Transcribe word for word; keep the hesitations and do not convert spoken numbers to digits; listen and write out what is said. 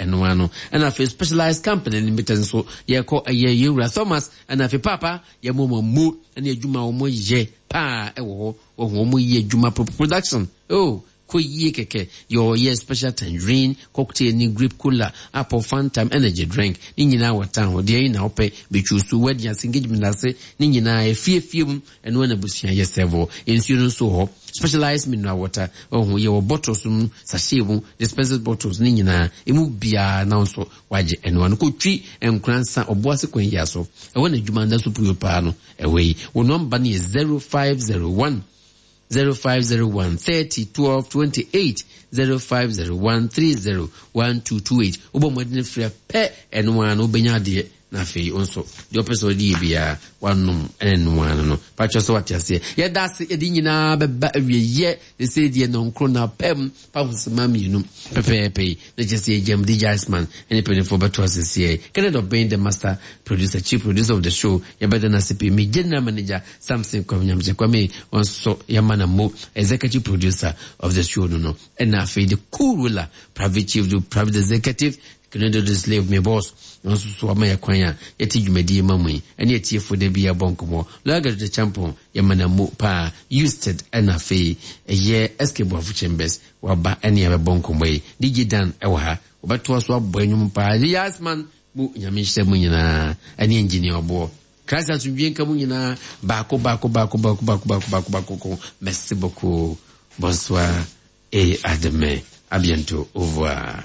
ɛno ano. Ɛna afei Specialized Company Limited nso yɛkɔ ɛyɛ yɛwura Thomas ɛna afei Papa yɛmɔ mo mu ɛne adwuma a wɔn yɛ paa ɛwɔ hɔ. Wɔn wɔn yɛ adwuma production oh kɔ yie kɛkɛ. Yɛwɔ special tangerine cocktail ne grape cola, apple Fanta, energy drink ne nyinaa wɔ town hɔ. Deɛ yi na wopɛ bɛtwi so, wedding ase, engagement ase ne nyinaa, efiefie mu ɛno ɛna abusua yɛ serve. Nsuo no nso wɔ hɔ, specialized mineral water ɔho yɛwɔ bottles mu, sachet mu, dispensers bottles ne nyinaa emu biara na nso wagye ɛno ano. Kotwi Nkoransa Ɔboase kwan yi aso ɛwɔ na adwuma nda so puo paa no ɛwɔ yi. Wɔn nɔmba no yɛ zero five zero one zero five zero one thirty twelve twenty-eight, zero five zero one thirty twelve twenty-eight. Wobɔ mmɔden frɛ pɛ, ɛno ara no wobɛnya adeɛ na afei wo nso deɛ ɔpɛ sɛ ɔde yɛ biara wanom ɛne no ara no patwɛ sɛ wate aseɛ. Yɛda ase, yɛde nyinaa bɛba awieyɛ ne sɛ deɛ nɔnkoro na pɛm pahosema mmienu pɛpɛɛpɛ yi na kyerɛ sɛ yɛgyam D J Iceman ɛne mpanimfoɔ bɛto aseseɛ. Kenneth Ɔbɛn, the master producer, chief producer of the show, yɛbɛda no ase pii. Me general manager Samson Kwame Nyamkyɛ Kwame wɔn nso yɛma no mo executive producer of the show no no ɛna afei the cool ruler, private chief, the private executive Kennedy the slave, me boss wɔn nso so ama yɛ kwan a yɛte dwumadie ma mu yi ɛne atiefo da bi yɛbɔ nkɔmmɔ. Lawyer the champion, yɛma no mo paa. Usted ɛna afei ɛyɛ S K Boafo Chambers waba ɛne yɛbɛbɔ nkɔmmɔ yi. D J Dan ɛwɔ ha, wɔbɛtoa so abɔ anwom paa. The Yasman mu, Nyame nhyɛ mu nyinaa ɛne engineer ɔboɔ Christ asomdwie nka mu nyinaa baako baako baako baako baako baako baako baako ko. Merci beaucoup, bonsoir et à demain, à bientôt, au revoir.